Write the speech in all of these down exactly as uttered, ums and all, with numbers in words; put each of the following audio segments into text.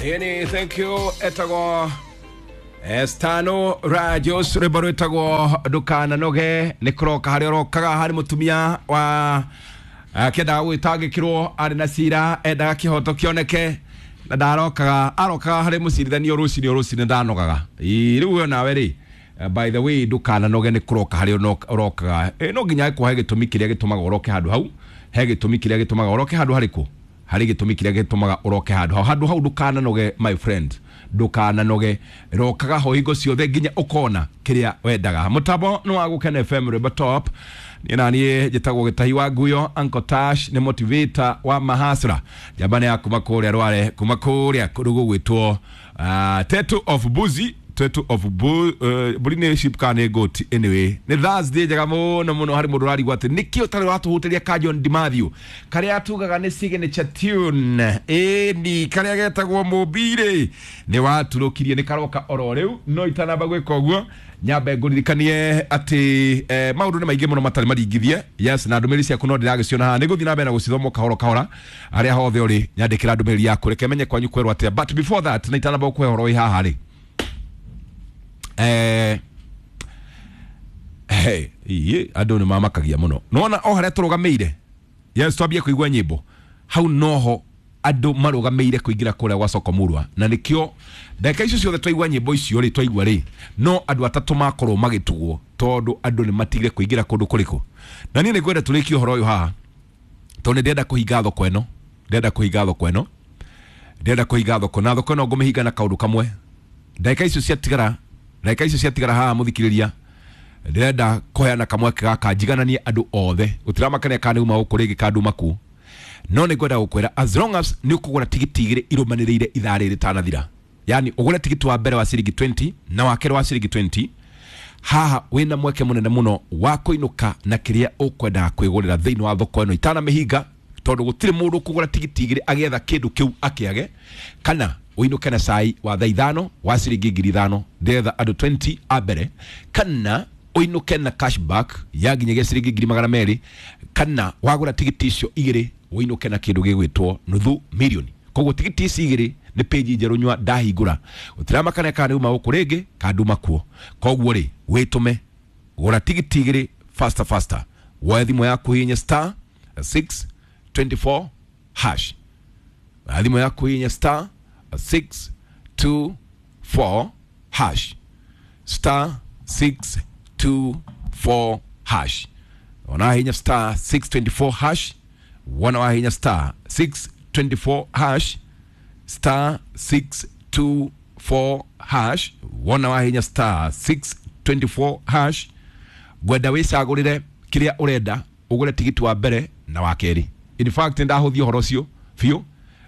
Ĩni, thank you. Etagwo Estano Rajos, rwĩmbo rwĩtagwo Ndũkananoge. Nĩ kũroka harĩa ũrokaga harĩ mũtumia wa akĩendaga gwĩtangĩkĩrwo, arĩ na cira, endaga kĩhoto kĩoneke na ndarokaga, arokaga harĩ mũcirithanio rũcinĩ o rũcinĩ, ndanogaga. Ĩ, rĩu we nawe rĩ, eh, by the way, ndũkananoge nĩ kũroka harĩa ũno- ũrokaga. Eh, no nginya kũhe gĩtũmi kĩrĩa gĩtũmaga ũroke handũ hau, he gĩtũmi kĩrĩa gĩtũmaga ũroke handũ harĩkũ, harĩ gĩtũmi kĩrĩa gĩtũmaga ũroke handũ hau, handũ hau. Ndũkananoge, my friend, ndũkananoge, rokaga ho hingo ciothe nginya ũkona kĩrĩa wendaga. Mũtambo nĩ wa Gũkena F M, rwĩmbo top. Niĩ na niĩ njĩtagwo Gĩtahi wa Nguyo. Uncle Tash nĩ motivator wa mahasra, njamba nĩ ya kuma kũrĩa Rware, kuma kũrĩa kũndũ gũgwĩtwo uh, Tetu of Buzi, Tetu of Bu, uh, mbũri nĩ sheep kana nĩ goat. Anyway, nĩ Thursday njega mũno mũno. Harĩ mũndũ ũrarigwo atĩ nĩkĩ ũtarĩ watũhutĩria ka John Dimathew karĩa tugaga nĩ signature tune, ĩni karĩa getagwo Mũmbirĩ, nĩ waturũkirie, nĩ karoka oro rĩu. No itanamba gwĩka ũguo, nyambe ngũririkanie atĩ eh, maũndũ nĩ maingĩ mũno matarĩ maringithie. Yes, na ndũmĩrĩri ciaku no ndĩragĩciona haha, nĩ ngũthiĩ na mbere na gũcithoma o kahora kahora. Arĩa hothe ũrĩ, nyandĩkĩra ndũmĩrĩri yaku, reke menye kwanyu kwerwo atĩa. But before that, na itanamba gũkũhe ũhoro wĩ haha rĩ, eh, hey, iĩ andũ nĩ mamakagia mũno. Nona o harĩa tũrũgamĩire, yes, twambie kũigua nyĩmbo hau noho andũ marũgamĩire kũingĩra kũrĩa gwa soko murwa, na nĩkĩo ndagĩka icio ciothe twaigua nyĩmbo icio rĩ, twaigua rĩ, no andũ atatũ makorwo magĩtugwo tondũ andũ nĩ matigire kũingĩra kũndũ kũrĩkũ. Na niĩ nĩ ngwenda tũrĩkie ũhoro ũyũ haha tondũ nĩ ndĩrenda kũhinga thoko ĩno, ndĩrenda kũhinga thoko ĩno, ndĩrenda kũhinga thoko, na thoko ĩno ngũmĩhinga na kaũndũ kamwe. Ndagĩka icio ciatigara, ndagĩka icio ciatigara haha, mũthikĩrĩria, ndĩrenda kũheana kamweke gaka njigananie andũ othe. Gũtiramakania kana nĩ uma gũkũ rĩngĩ kana nduma kuu, no nĩ ngwenda gũkwĩra, as long as nĩ ũkũgũra tigiti igĩrĩ irũmanĩrĩire ithaa rĩrĩ rĩtanathira, yani ũgũre tigiti wa mbere wa ciringi mĩrongo ĩĩrĩ na wa kerĩ wa ciringi mĩrongo ĩĩrĩ, haha wĩna mweke mũnene mũno wa kũinũka na kĩrĩa ũkwendaga kwĩgũrĩra thĩinĩ wa thoko ĩno itanamĩhinga, tondũ gũtirĩ mũndũ ũkũgũra tigiti igĩrĩ agĩetha kĩndũ kĩu akĩage. Kana ũinũke na cai wa thaa ithano wa ciringi ngiri ithano, ndĩretha andũ mĩrongo ĩĩrĩ a mbere. Kana ũinũke na cashback ya nginyagia ciringi ngiri magana merĩ. Kana wagũra tigiti icio igĩrĩ, ũinũke na kĩndũ gĩgwĩtwo nuthu milioni. Koguo tigiti ici igĩrĩ nĩ page njerũ nyua ndahingũra, gũtiramakania kana nĩ uma gũkũ rĩngĩ kana nduma kuo. Koguo rĩ, wĩtũme gũra tigiti igĩrĩ faster faster, woe thimũ yaku, hihinya star six two four hash. Na thimũ yaku, hihinya star six two four hash, star six two four hash. Ona hinya star six two four hash, wona wahinya star six two four hash, star six two four hash, wona wahinya star six two four hash, ngwenda wĩcagũrĩre kĩrĩa ũrenda, ũgũre tigiti wa mbere na wa kerĩ. In fact, ndahũthia ũhoro ũcio biũ.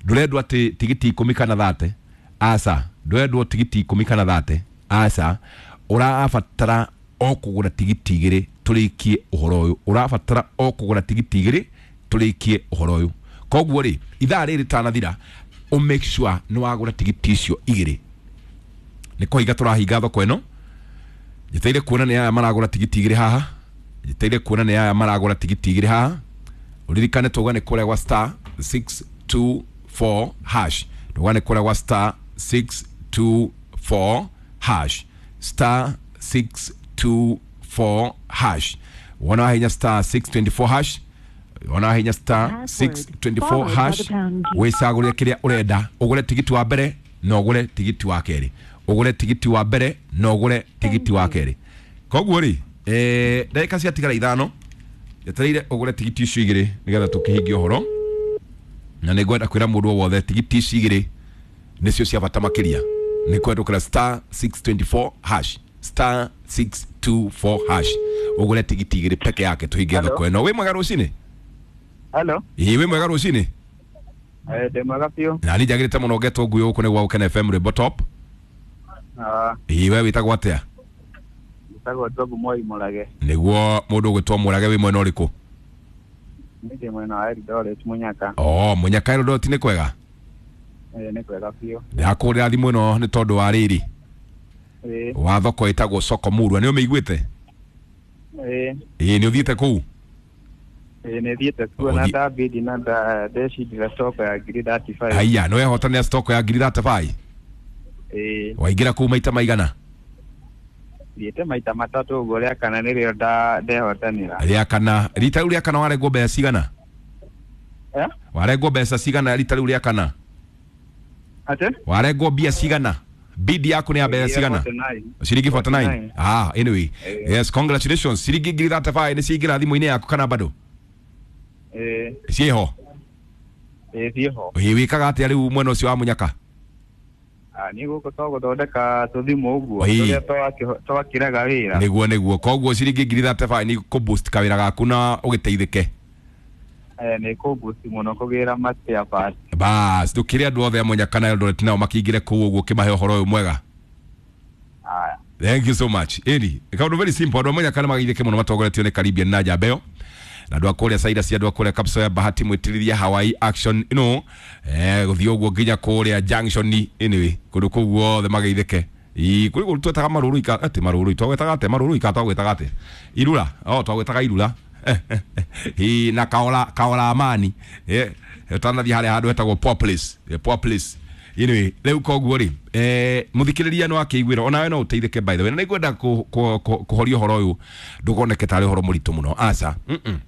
Ndũrendwo atĩ tigiti ikũmi kana thate, aca. Ndũrendwo tigiti ikũmi kana thate, aca. Ũrabatara o kũgũra tigiti igĩrĩ tũrĩkie ũhoro ũyũ. Ũrabatara o kũgũra tigiti igĩrĩ tũrĩkie ũhoro ũyũ. Koguo rĩ, ithaa rĩrĩ rĩtanathira, ũ make sure nĩ wagũra tigiti icio igĩrĩ. Nĩ kũhinga tũrahinga thoko ĩno. Njeteire kuona nĩ aya maragũra tigiti igĩrĩ haha, njeteire kuona nĩ aya maragũra tigiti igĩrĩ haha. Ũririkane tuga nĩ kũrĩa gwa star six two four hash, tuga nĩ kũrĩa gwa star six two four hash, star six two four hash. Wona wahinya star six two four hash, wona wahinya star six two four hash, wĩcagũrĩre kĩrĩa ũrenda, ũgũre tigiti wa mbere na ũgũre tigiti wa kerĩ, ũgũre tigiti wa mbere na ũgũre tigiti wa kerĩ. Koguo rĩ, eh, ndagĩka ciatigara ithano, njetereire ũgũre tigiti icio igĩrĩ nĩgetha tũkĩhingie ũhoro. Na nĩ ngwenda kwĩra mũndũ o wothe, tigiti ici igĩrĩ nĩcio cia bata makĩria, nĩ kwendũkĩra star six two four hash, star six two four hash, ũgũre tigiti igĩrĩ peke yake tũhingie Hello. thoko ĩno. Wĩ mwega rũcinĩ? Hello. Ĩĩ, wĩ mwega rũcinĩ? Eh, ndĩ mwega biũ. Na niĩ njagĩrĩte mũno, ngetwo nguyo, gũkũ nĩ gwa Gũkena F M, rwĩmbo top. Ah, Ĩĩ, we wĩtagwo atĩa? Njĩtagwo Job Moi Mũrage. Nĩguo mũndũ ũgwĩtwo Mũrage, wĩ mwena ũrĩkũ? Niĩ ndĩ mwena wa Eldoret, Mũnyaka. O Mũnyaka, Eldoret nĩ kwega? Eh, nĩ kwega biũ. Ndĩrakũhũrĩra thimũ ĩno nĩ tondũ wa rĩrĩ Ĩĩ, wa thoko ĩtagwo Soko Murwa, nĩ ũmĩiguĩte? Ĩĩ, Ĩĩ, nĩ ũthiĩte kũu? Ĩĩ nĩ thiĩte kuo na Ũthi- ndabidi na nda- ndecindĩra stock ya ngiri thirty five. Haiya, nĩ wehotanĩra stock ya ngiri thirty five? Ĩĩ. Waingĩra kũu maita maigana? Thiĩte maita matatũ ũguo, rĩa kana nĩrĩo nda ndehotanĩra. Rĩa kana, rita rĩu rĩa kana warengwo mbeca cigana? Eh? Warengwo mbeca cigana rita rĩu rĩa kana? Atĩ? Warengwo mbia cigana? Bid yaku nĩ ya mbeca cigana? forty-nine. Ciringi forty nine. forty-nine. Ah, anyway. Eh. Yes, congratulations. Ciringi ngiri thirty five nĩ ciaingĩra thimũ-inĩ yaku kana bado? Ĩĩ. Ciĩho? Ĩĩ ciĩho. Ĩ wĩkaga atĩa rĩu mwena ũcio wa Mũnyaka? Ah, niĩ gũkũ to gũthondeka tũthimũ ũguo Ĩĩ. tũrĩa twakĩ- twakĩraga wĩra. Nĩguo nĩguo. Koguo ciringi ngiri thirty five nĩ kũ boost kawĩra gaku na ũgĩteithĩke. Eh, nĩ kũboost mũno kũgĩra ma spare parts. Bas, ndũkĩre andũ othe a Mũnyaka na Eldoret nao makĩingĩre kũu ũguo ũkĩmahe ũhoro ũyũ mwega. Aya. Thank you so much. Ĩni, kaũndũ very simple, andũ a Mũnyaka nĩ mageithĩke mũno matongoretio nĩ Caribbean na Njambeo. Na andũ a kũrĩa Cyrus, andũ a kũrĩa Kapsoya, Bahati mwĩtĩrĩria Hawaii Action, you know, eh, gũthiĩ ũguo nginya kũrĩa Junction, anyway, kũndũ kũu guothe mageithĩke. Ii, kũrĩ kũndũ twetaga marũrũ ika, atĩ marũrũ, twagwetaga atĩ marũrũ ika, twagwetaga atĩ irura, oh, twagwetaga irura. Ii, na kaola, kaola amani. Eh, ũtanathiĩ harĩa handũ hetagwo Poor Place, eh, Poor Place. Anyway, rĩu koguo rĩ, eh, mũthikĩrĩria no akĩiguĩra onawe no ũteithĩke, by the way, na nĩngwenda kũ- kũ- kũ- kũhoria ũhoro ũyũ ndũkoneke tarĩ ũhoro mũritũ mũno, aca. Mm-mm.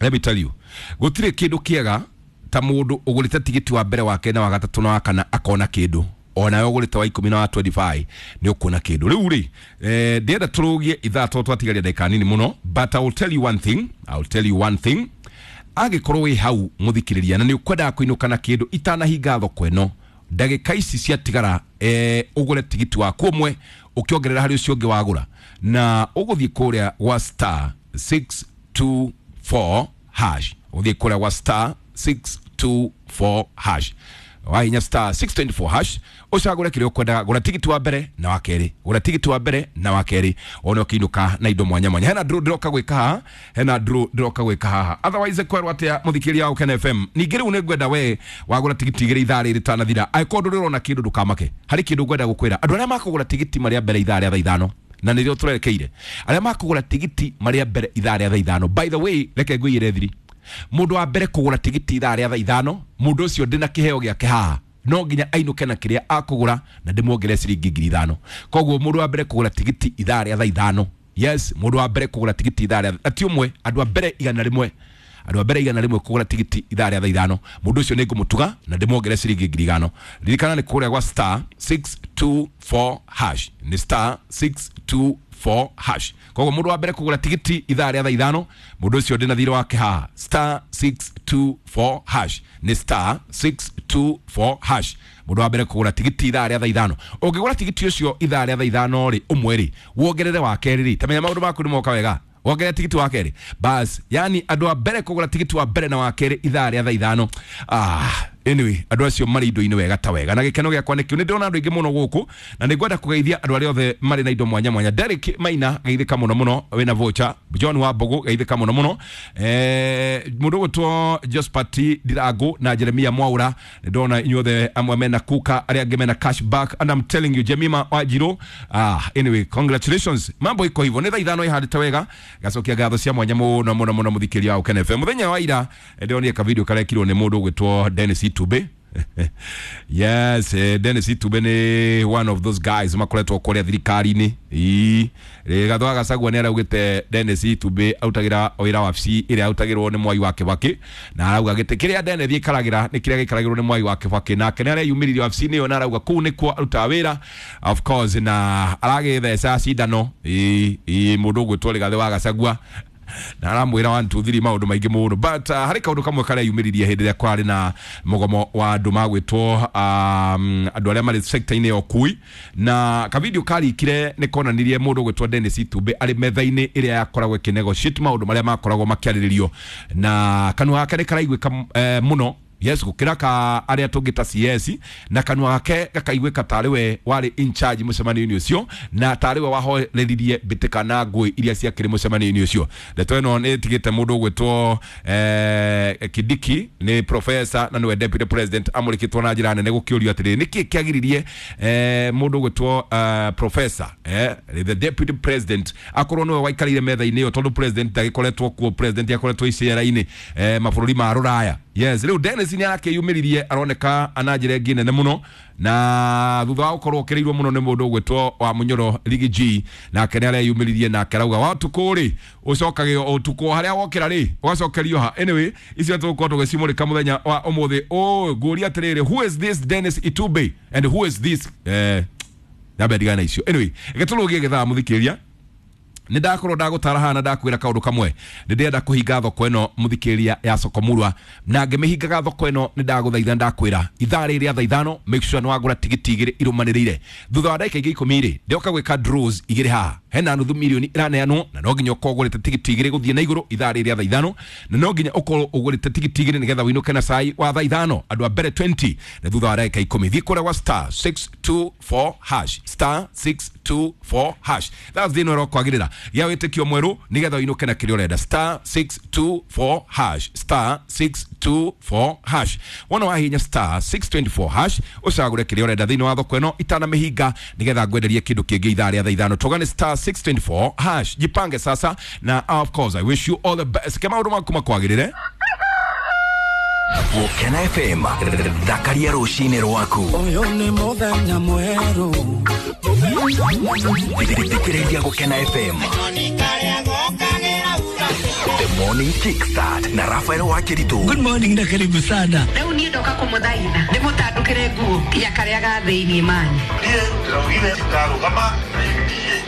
Let me tell you, gũtirĩ kĩndũ kĩega ta mũndũ ũgũrĩte tigiti wa mbere, wa kerĩ na wa gatatũ na wa kana akona kĩndũ. Onawe ũgũrĩte wa ikũmi na wa twenty five nĩ ũkuona kĩndũ. Rĩu rĩ, eh, ndĩrenda tũrũgie ithaa tondũ twatigaria ndagĩka nini mũno, but I will tell you one thing, I will tell you one thing. Angĩkorwo wĩ hau mũthikĩrĩria na nĩ ũkwendaga kũinũka na kĩndũ itanahinga thoko ĩno, ndagĩka ici ciatigara, eh, ũgũre tigiti waku ũmwe ũkĩongerera harĩ ũcio ũngĩ wagũra, na ũgũthiĩ kũrĩa gwa star six two four hash, ũthiĩ kũrĩa gwa star six two four hash, wahinya star six twenty four hash, ũcagũre kĩrĩa ũkwendaga. Gũra tigiti wa mbere na wa kerĩ, gũra tigiti wa mbere na wa kerĩ, one ũkĩinũka na indo mwanya mwanya. Hena draw ndĩroka gwĩka haha, hena draw ndĩroka gwĩka haha, otherwise kwerwo atĩa mũthikĩrĩria wa Ũkena F M. Ningĩ rĩu nĩngwenda we wagũra tigiti igĩrĩ ithaa rĩrĩ rĩtanathira, angĩkorwo ndũrĩ ũrona kĩndũ ndũkamake, harĩ kĩndũ ngwenda gũkwĩra. Andũ arĩa makũgũra tigiti marĩa mbere ithaa rĩa thaa ithano, na nĩrĩo tũrerekeire, arĩa makũgũra tigiti marĩa mbere ithaa rĩa thaa ithano, by the way, reke ngũiyĩre thiri, mũndũ wa mbere kũgũra tigiti ithaa rĩa thaa ithano, mũndũ ũcio ndĩna kĩheo gĩake haha, no nginya ainũke na kĩrĩa akũgũra na ndĩmuongerere ciringi ngiri ithano. Koguo mũndũ wa mbere kũgũra tigiti ithaa rĩa thaa ithano, yes, mũndũ wa mbere kũgũra tigiti ithaa rĩa, ti ũmwe, andũ a mbere igana rĩmwe, andũ a mbere igana rĩmwe kũgũra tigiti ithaa rĩa thaa ithano, mũndũ ũcio nĩ ngũmũtuga na ndĩmuongerere ciringi ngiri ithano. Ririkana nĩ kũrĩa gwa star six two four hash, nĩ star six two four hash. Koguo mũndũ wa mbere kũgũra tigiti ithaa rĩa thaa ithano, mũndũ ũcio ndĩna thirĩ wake haha, star six two four hash, nĩ star six two four hash. Mũndũ wa mbere kũgũra tigiti ithaa rĩa thaa ithano, ũngĩgũra tigiti ũcio ithaa rĩa thaa ithano rĩ, ũmwe rĩ, wongerere wa kerĩ rĩ, tamenya maũndũ maku nĩ moka wega, wongerere tigiti wa kerĩ bas. Yani andũ a mbere kũgũra tigiti wa mbere na wa kerĩ ithaa rĩa thaa ithano, ah, anyway, andũ acio marĩ indo-inĩ wega ta wega, na gĩkeno gĩakwa nĩkĩo nĩ ndĩrona andũ aingĩ mũno gũkũ, na nĩ ngwenda kũgeithia andũ arĩa othe marĩ na indo mwanya mwanya. Derek Maina, geithĩka mũno mũno, wĩna voucher. John wa Mbogo, geithĩka mũno mũno. Eh, mũndũ ũgwĩtwo Josphat Ndirango na Jeremia Mwaura, nĩ ndona inyuothe amwe mena kuka, arĩa angĩ mena cash back, and I'm telling you, Jemima Wanjiru, ah, anyway, congratulations, mambo iko hivyo. Nĩ thaa ithano ihandĩte wega, gacokia ngatho cia mwanya mũno mũno mũno mũthikĩria wa Ũkena F M. Mũthenya wa ira ndĩronire ka video karekirwo nĩ mũndũ ũgwĩtwo Dennis Itube. Yes, eh, Dennis Itube nĩ one of those guys makoretwo kũrĩa thirikari-inĩ. Ii, Rigathi wa Gachagua nĩ araugĩte Dennis Itube arutagĩra wĩra wabici ĩrĩa arutagĩrwo nĩ Mwai wa Kibaki, na arauga gĩtĩ kĩrĩa Dennis aikaragĩra nĩ kĩrĩa gĩikaragĩrwo nĩ Mwai wa Kibaki, nake nĩ areyumĩririe wabici-inĩ ĩyo na arauga kũu nĩkuo arutaga wĩra, of course, na aragĩtheca cindano. Ii, ii, mũndũ ũgwĩtwo Rigathi wa Gachagua na aramwĩra one two three maũndũ maingĩ mũno, but uh, harĩ kaũndũ kamwe kareyumĩririe hĩndĩ ĩrĩa kwarĩ na mũgomo wa andũ magwĩtwo um, andũ arĩa marĩ sector-inĩ ya ũkui, na kavideo karikire nĩ konanirie mũndũ ũgwĩtwo Dennis Itube arĩ metha-inĩ ĩrĩa yakoragwo ĩkĩnegotiate maũndũ marĩa makoragwo makĩarĩrĩrio, na kanua gake nĩ karaiguĩka eh, mũno. Yes, gukira ka aria tungita C S na kanua gake gakaiguika tarĩ we warĩ in charge mũcemanio-inĩ ũcio na tarĩ we wahoreririe mbĩtĩka na ngũĩ iria ciakĩrĩ mũcemanio-inĩ ũcio. Ndeto ĩno nĩ ĩtigĩte mũndũ ũgwĩtwo eh, Kindiki nĩ professor na nĩwe deputy president amũrĩkĩtwo na njĩra nene gũkĩũrio atĩrĩrĩ nĩkĩ kĩagiririe eh, mũndũ ũgwĩtwo uh, professor eh, the deputy president akorwo nĩwe waikarĩire metha-inĩ ĩyo tondũ president ndagĩkoretwo kuo, president akoretwo icera-inĩ eh, mabũrũri ma rũraya. Yes, rĩu Dennis nĩ arakĩyumĩririe aroneka ana njĩra ĩngĩ nene mũno na thutha wa gũkorwo ũkĩrĩirwo mũno nĩ mũndũ ũgwĩtwo wa Munyoro Ligi G nake nĩ areyumĩririe nake arauga wa ũtukũ rĩ ũcokagio ũtukũ harĩa wokĩra rĩ ũgacokerio ha. Anyway, icio tũgũkorwo tũgĩcimũrĩka mũthenya wa ũmũthĩ. Oh, ngũria atĩrĩrĩ, who is this Dennis Itube and who is this eh nyambe ndigane na icio. Anyway, gĩtũrũgie gĩthaa mũthikĩria nĩ ndakorwo ndagũtara haha na ndakwĩra kaũndũ kamwe nĩ ndĩrenda kũhinga thoko ĩno mũthikĩrĩria ya Soko Murwa na ngĩmĩhingaga thoko ĩno nĩ ndagũthaitha ndakwĩra ithaa rĩrĩ rĩa thaa ithano make sure nĩ wagũra tigiti igĩrĩ irũmanĩrĩire thutha wa ndagĩka ingĩ ikũmi rĩ ndĩoka gwĩka draws igĩrĩ haha hena nuthu milioni ĩraneanwo na no nginya ũkorwo ũgũrĩte tigiti igĩrĩ gũthiĩ na igũrũ ithaa rĩrĩ rĩa thaa ithano na no nginya ũkorwo ũgũrĩte tigiti igĩrĩ nĩgetha ũinũke na cai wa thaa ithano andũ a mbere twenty na thutha wa ndagĩka ikũmi thiĩ kũrĩa gwa star six two four hash star six two four hash that's thĩna ũrokwagĩrĩra gĩa wĩtĩkio mwerũ nĩgetha ũinũke na kĩrĩa ũrenda star six two four hash star six two four hash wona wahihinya star six two four hash ũcagũre kĩrĩa ũrenda thĩinĩ wa thoko ĩno itanamĩhinga nĩgetha ngwenderie kĩndũ kĩngĩ ithaa rĩa thaa ithano tũgane star six two four hash jipange sasa na of course I wish you all the best ke maũndũ maku makwagĩrĩre. Gũkena F M thakaria rũcinĩ rwaku ũyũ nĩ mũthenya mwerũ thikĩrĩria Gũkena F M The Morning Kickstart na Rafael Wakiritu. Good morning na karibu sana. Rĩu niĩ ndoka kũmũthaitha ndĩmũtandũkĩre nguo ya karĩa ga thĩinĩ mani. Niĩ ndĩraugire ndarũgama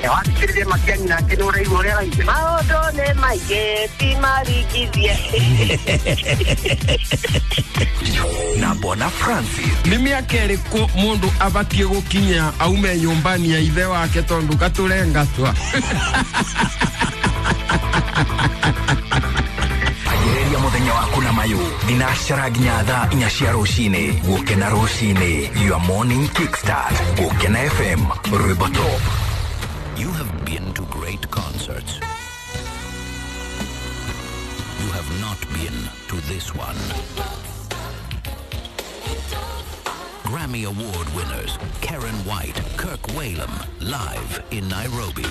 wathikĩrĩria Matiang'i nake nĩ ũraigua ũrĩa araigua. Maũndũ nĩ maingĩ ti maringithie. Na Bona Francis. Nĩ mĩaka ĩrĩkũ mũndũ abatiĩ gũkinya aume nyũmba-inĩ ya ithe wake tondũ gatũrengatwa? Anjĩrĩria mũthenya waku na mayũ thinacara nginya thaa inya cia rũcinĩ. Gũkena rũcinĩ, your morning kickstart. Gũkena F M, rwĩmbo top. You have been to great concerts. You have not been to this one. Grammy Award winners Karen White, Kirk Whalum, live in Nairobi.